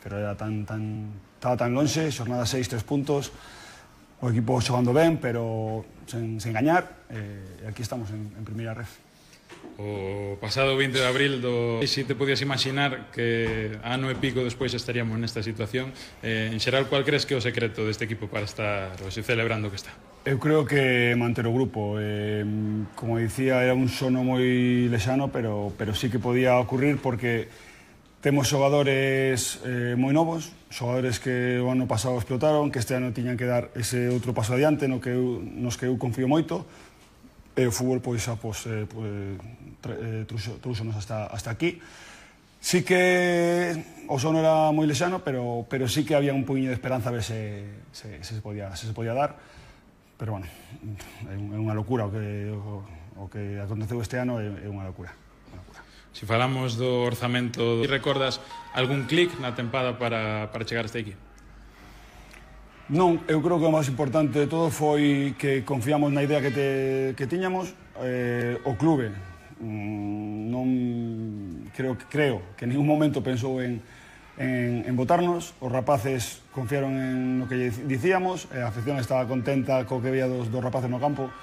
pero estaba tan lonxe, xornada 6, 3 puntos, o equipo xogando ben, pero sen engañar, e aquí estamos en primeira ref. O pasado 20 de abril si te podías imaginar que ano e pico despois estaríamos nesta situación, en xeral, cual crees que é o secreto deste equipo para estar hoxe celebrando que está? Eu creo que manter o grupo, como dicía, era un sono moi lexano, pero sí que podía ocurrir porque temos xogadores moi novos, xogadores que o ano pasado explotaron, que este ano tiñan que dar ese outro paso adiante nos que eu confío moito. O fútbol trúxonos hasta aquí. Sí que o sono era moi lexano, pero sí que había un poquinho de esperanza a ver se se podía dar. Pero bueno, é unha locura o que aconteceu este ano, é unha locura. Se falamos do orzamento, recordas algún clic na tempada para chegar hasta aquí? Non, eu creo que o máis importante de todo foi que confiamos na idea que tiñamos. O clube non creo que en ningún momento pensou en votarnos. Os rapaces confiaron en lo que dicíamos, a afición estaba contenta co que veía dos rapaces no campo.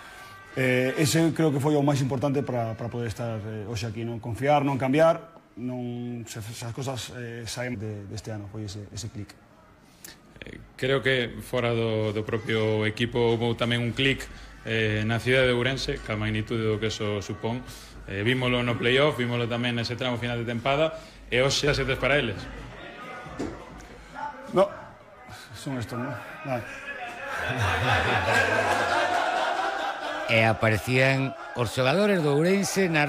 Ese creo que foi o máis importante para poder estar hoxe aquí, non confiar, non cambiar, esas cosas saen deste ano, foi ese clic. Creo que fora do propio equipo houve tamén un clic na cidade de Ourense, ca magnitude do que eso supón. Vímolo no playoff, vímolo tamén nese tramo final de tempada, e hoxe xa setes para eles. No, son estos, non? Vale. E aparecían os xogadores do Ourense na...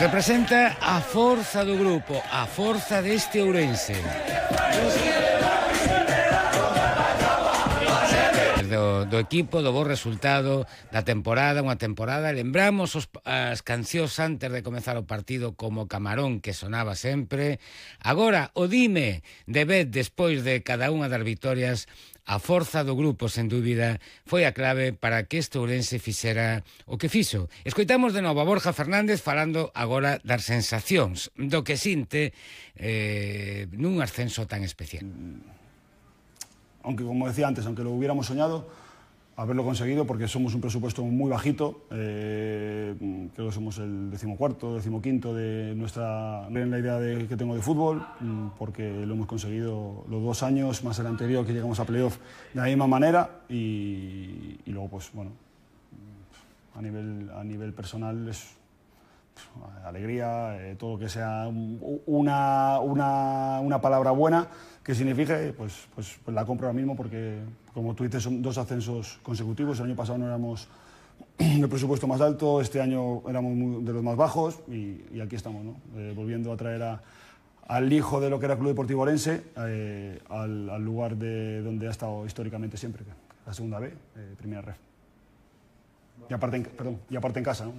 Representa a forza do grupo, a forza deste Ourense. Do equipo, do bo resultado da temporada, unha temporada, lembramos as cancións antes de comezar o partido como Camarón, que sonaba sempre. Agora, o dime de vez despois de cada unha das vitorias, a forza do grupo, sen dúbida, foi a clave para que este Ourense fixera o que fixo. Escoitamos de novo a Borja Fernández falando agora das sensacións, do que sinte nun ascenso tan especial. Aunque, como decía antes, aunque lo hubiéramos soñado, haberlo conseguido, porque somos un presupuesto muy bajito, creo que somos el 14º, 15º de en la idea que tengo de fútbol, porque lo hemos conseguido los 2 años, más el anterior que llegamos a playoff de la misma manera, y luego, pues bueno, a nivel personal es alegría, todo lo que sea una palabra buena que signifique, pues la compro ahora mismo, porque como tú dices, son 2 ascensos consecutivos. El año pasado no éramos el presupuesto más alto, este año éramos de los más bajos, y aquí estamos, ¿no? Volviendo a traer al hijo de lo que era Club Deportivo Ourense al lugar de donde ha estado históricamente siempre, la segunda B, primera ref. Y aparte en casa, ¿no?